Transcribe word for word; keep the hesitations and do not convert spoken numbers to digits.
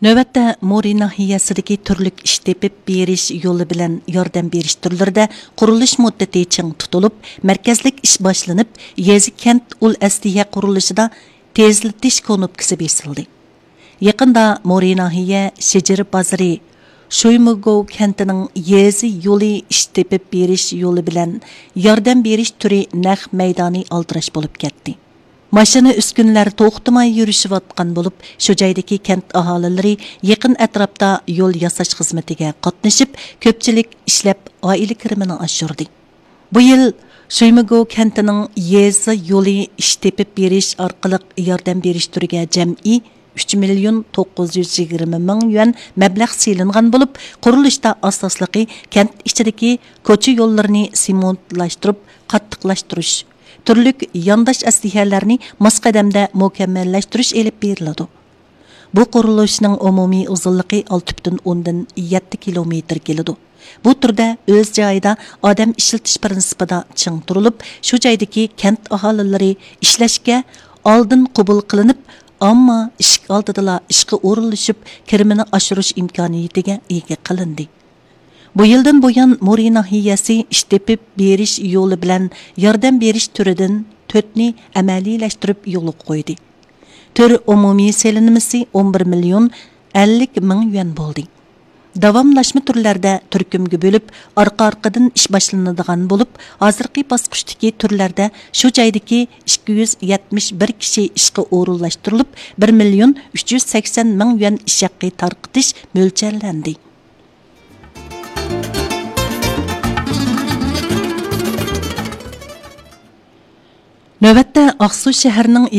نۆۋەتتە مورى ناھىيەسىدىكى تۈرلۈك ئىش تېپىپ بېرىش يولى بىلەن ياردەم بېرىش تۈرلىرىدە قۇرۇلۇش مۇددىتى چىڭ تۇتۇلۇپ، مەركەزلىك ئىش باشلىنىپ، يېزا، كەنت ئۇل ئەسلىھە قۇرۇلۇشىدا تېزلىتىش كونۇپكىسى بېسىلدى. يېقىندا مورى ناھىيە شىجىر بازىرى شۇيمىگوۋ كەنتىنىڭ يېزا يولى ئىش تېپىپ بېرىش يولى بىلەن ياردەم بېرىش تۈرى نەق مەيدانى ئالدىراش بولۇپ كەتتى. ماشىنا، ئۈسكۈنىلەر توختىماي يۈرۈشۈۋاتقان بولۇپ، شۇ جايدىكى كەنت ئاھالىلىرى يېقىن ئەتراپتا يول ياساش خىزمىتىگە قاتنىشىپ، كۆپچىلىك ئىشلەپ، ئائىلە كىرىمىنى ئاشۇردى. بۇ يىل شۇيمىگو كەنتىنىڭ يېزا يولى ئىش تېپىپ بېرىش ئارقىلىق ياردەم بېرىش تۈرىگە جەمئىي ئۈچ مىليون توققۇز يۈز يىگىرمە مىڭ يۈەن مەبلەغ سېلىنغان بولۇپ، قۇرۇلۇشتا ئاساسلىقى كەنت ئىچىدىكى كوچا يوللىرىنى سېمونتلاشتۇرۇپ قاتتىقلاشتۇرۇش، تۈرلۈك يانداش ئەسلىھەلەرنى ماس قەدەمدە مۇكەممەللەشتۈرۈش ئېلىپ بېرىلىدۇ. بۇ قۇرۇلۇشنىڭ ئومۇمىي ئۇزۇنلۇقى ئالتە پۈتۈن ئوندىن يەتتە كىلومېتىر كېلىدۇ. بۇ تۈردە ئۆز جايىدا ئادەم ئىشلىتىش پىرىنسىپىدا چىڭ تۇرۇلۇپ، شۇ جايدىكى كەنت ئاھالىلىرى ئىشلەشكە ئالدىن قوبۇل قىلىنىپ، ئامما ئىشىك ئالدىدىلا ئىشقا ئورۇنلىشىپ، كىرىمىنى ئاشۇرۇش ئىمكانىيىتىگە ئىگە قىلىندى. بۇ يىلدىن بۇيان، مورى ناھىيەسى ئىش تېپىپ بېرىش يولى بىلەن ياردەم بېرىش تۈرىدىن تۆتنى ئەمەلىيلەشتۈرۈپ يولغا قويدى. تۈر ئومۇمىي سېلىنمىسى ئون بىر مىليون ئەللىك مىڭ يۈەن بولدى. داۋاملاشما تۈرلەردە تۈركۈمگە بۆلۈپ، ئارقا-ئارقىدىن ئىش باشلىنىدىغان بولۇپ، ھازىرقى باسقۇچتىكى تۈرلەردە شۇ جايدىكى ئىككى يۈز يەتمىش بىر كىشى ئىشقا ئورۇنلاشتۇرۇلۇپ، بىر مىليون ئۈچ يۈز سەكسەن مىڭ يۈەن ئىش ھەققى تارقىتىش مۆلچەرلەندى. نۆۋەتتە ئاقسۇ شەھىرىنىڭ